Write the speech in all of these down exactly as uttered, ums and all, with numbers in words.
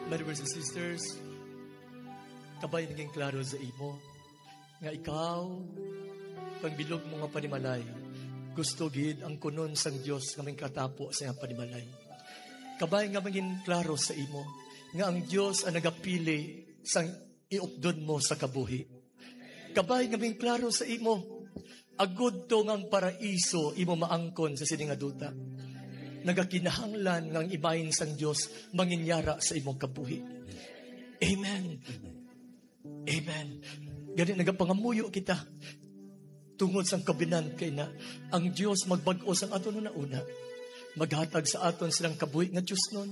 Brothers and sisters, kabay naging klaro sa imo nga ikaw, kang bilog mo nga panimalay, gusto gid ang kunon sang Dios nga mangkatapo sa iyang panimalay. Kabay nga mangin klaro sa imo nga ang Dios ang nagapili sang iupdon mo sa kabuhi. Kabay nga mangin klaro sa imo, agud to nga ang paraiso imo maangkon sa sini nga duta. Nagakinahanglan nga ang imahin sang Dios manginyara sa imong kabuhi. Amen. Amen. Gani nagapangamuyo kita tungod sang covenant kay na ang Dios magbag-o sang aton una-una. Maghatag sa aton silang kabuhi nga Dios nun.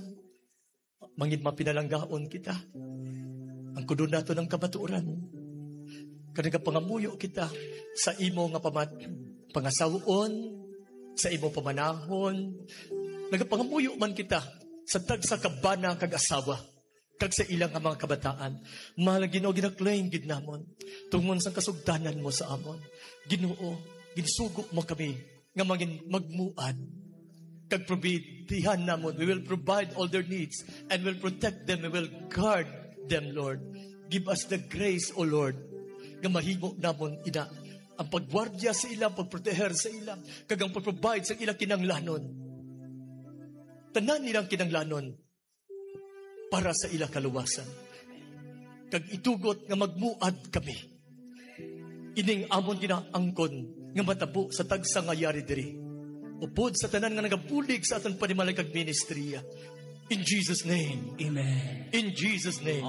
Mangin mapinalanggaon kita. Ang kuno nato ng kamatuoran. Kag nagapangamuyo kita sa imo nga pamat-, pangasawon, sa imo pamanahon. Nagapangamuyo man kita sa tagsa ka bana kag asawa, kag sa ila nga mga kabataan. Mahal nga Ginoo, ginaklaim gid namon tungon sang kasugdanan mo sa amon. Ginoo, ginsugo mo kami nga mangin magmuad kag probidihan namon. We will provide all their needs and will protect them. We will guard them, Lord. Give us the grace, O Lord, nga mahimo namon ina ang pagwardya sa ila, pagproteher sa ila, kag ang pagprovide sa ilang kinanglanon. Tanan nilang kinanglanon para sa ila kaluwasan. Kag itugot nga magmuad kami. Ining amon ginaangkon nga matabo sa tagsa nga yari diri, upod sa tanan nga nagabulig sa aton panimalay kag ministriya. In Jesus' name. Amen. In Jesus' name.